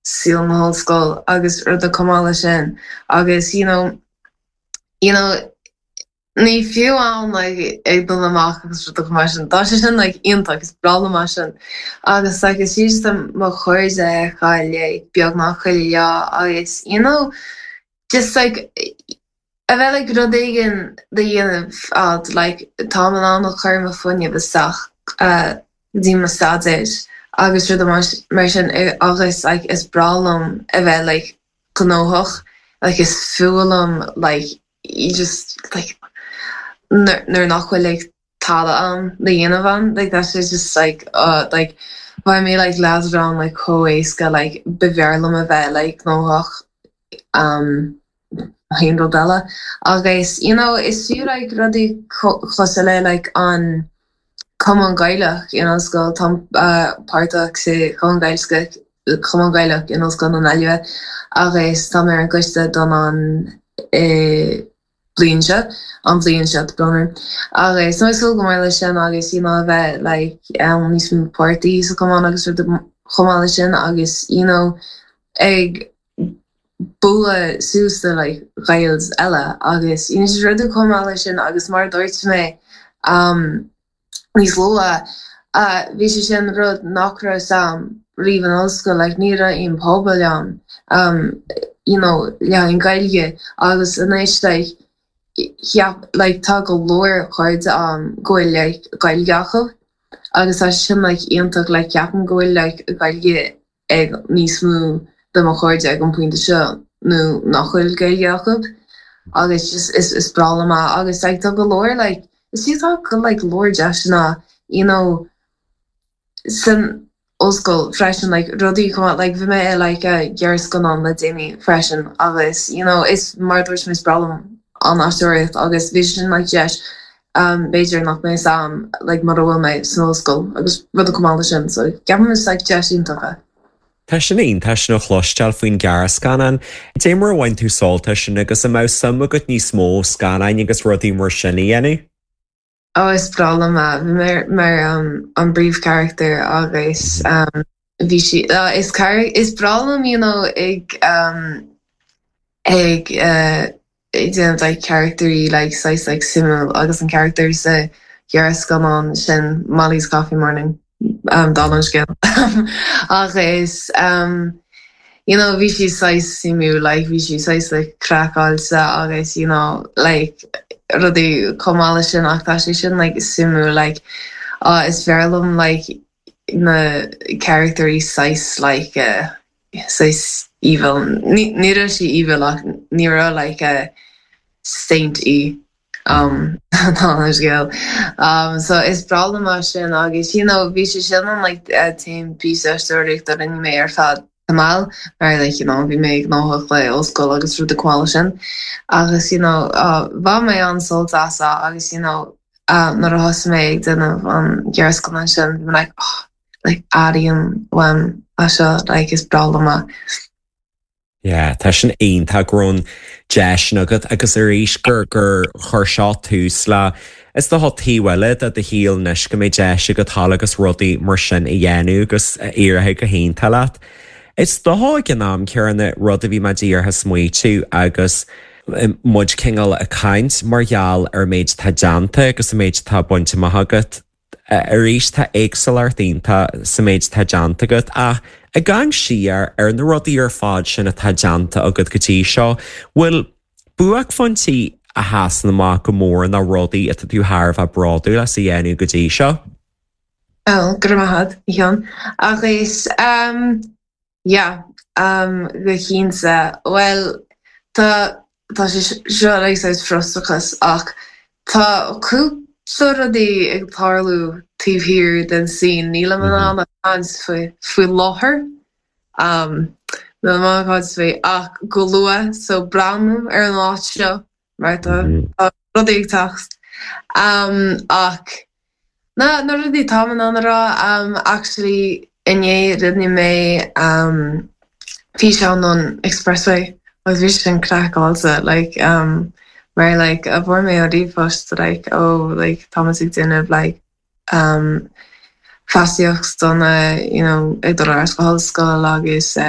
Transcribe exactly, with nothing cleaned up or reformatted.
saol na hollscoile agus rudaí chomh maith leis sin agus you know you know ní fiú an like ag dul amach agus rudaí mar sin tá sé sin like iontach is breá liom sin agus like is just mo chairde a fheiceáil beagnach chuile lá agus you know just like a bheith like rud éigin de dhéanamh ad like tá in ann a chur mo fuinneamh isteach uh, dtí mo staidéar agus rud mar sin agus like is breá liom a bheith like gnóthach like is fuath liom like you just like nuair nach bhfuil like tada am le dhéanamh an like that's just like uh like bhain mé like leadrán like chomh héasca like b'fhearr liom a bheith like gnóthach um haon rud eile agus you know is fiú like rudaí cosúil le like an Cumann Gaelach in ollscoil tá uh, páirteach sa Chumann Gaelach Cumann Gaelach in Ollscoil na Gaillimhe agus tá mé ar an gcoiste don an eh, bliain seo an bhliain seo bronnir. Agus tá súil go mór leis sin agus you know, a bheith like um, níos mó páirtí sa chumann agus rud chomh maith leis sin agus you know, ag bualadh suas le like Gaeil eile agus you know, just rudaí chomh maith leis sin agus mar dúirt mé um, níos luaithe uh, bhí sé sin rud nach raibh agam riamh in ollscoil like ní raibh aon pobal ann um, you know, le an Gaeilge agus anois like cheap like tá go leor cairde um, go bhfuil like Gaeilge acu agus tá sin like iontach like ceapaim go bhfuil like Gaeilge ag níos mó de mo chairde ag an pointe seo nó nach bhfuil Gaeilge acu agus just is is breá liom é agus like tá go leor like is tá go like leor deiseanna you know san ollscoil freisin like rudaí chomh like bhí mé like a gearrscannán le déanaí freisin agus you know is mar dúirt mé is breá liom an aisteoireacht agus bhí sin like deis um, b'fhéidir nach mbeadh agam like mar bhfuil mé san ollscoil agus rudaí chomh maith leis sin so ceapaim is like deis iontach é. Tá sin iontach sin a chloisteáil faoin gearrscannán. Dé mar bhain tú sult as sin agus an mbeadh suim agat níos mó scannáin agus rudaí mar sin a dhéanamh? Ó is breá liom é bhí mé mar um, an príomhcharachtar agus um, bhí sí uh, is car is breá liom you know, ag um, ag uh, ag déanamh like characterí like saghas like suimiúil agus an character sa ghearrscannán sin Molly's Coffee Morning um, dá an scéal agus um, you know bhí sí saghas suimiúil like bhí sí saghas like craiceáilte agus you know like rudaí chomh maith leis sin ach tá sé sin like suimiúil like uh, is fearr liom like na characterí saghas like uh, saghas evil ní ní raibh sí evil ach ní raibh like a saint í um ná scéal um so is breá liom é sin agus you know bhí sé sin an like uh, t-aon píosa aisteoireachta a rinne mé ar feadh tamall mar like you know bhí mé gnóthach le ollscoil agus rudaí chomh maith leis sin agus you know uh, bhain mé an-sult as agus you know uh, nuair a thosaigh mé ag déanamh an gearrscannán sin bhí mé like oh, like airím uaim é seo like is breá liom é. Yeah, tá sin iontach go raibh an deis agat agus arís gur gur chuir seo tús le is do taobh eile de do shaol anois go mbeidh deis agat dul agus rudaí mar sin a dhéanamh agus éirithe go hiontach leat. Is dócha ag an am céanna rud a bhí mé díreach smaoitiú agus muid cineál ag caint mar gheall ar méid tá déanta agus a méid tá bainte amach agat. Arís tá éagsúlacht iontach sa méid tá déanta agat ach ag amharc siar ar na rudaí ar fad sin atá déanta agat go dtí seo, bhfuil buaicphointí a sheasann amach go mór na rudaí atá tú thar a bheith bródúil as a dhéanamh go dtí seo? Oh, go maith Sheáin agus um, yeah, um, go cinnte well tá tá sé seo like saghas frustrachas ach tá cúpla rudaí ag tarlú taobh thiar den scene nílim in ann caint faoi faoi láthair um, níl mé caint faoi ach go luath so breathnú ar an áit seo mar tá tá rudaí ag teacht um, ach na na rudaí tá in ann a rá um, actually inné rinne mé um, físeán an Expressway agus bhí sin craiceáilte like um, mar like a bhfuair mé an ríomhphost like ó like tá ag déanamh like um, feasacht dona you know, ag dul ar ollscoil agus uh,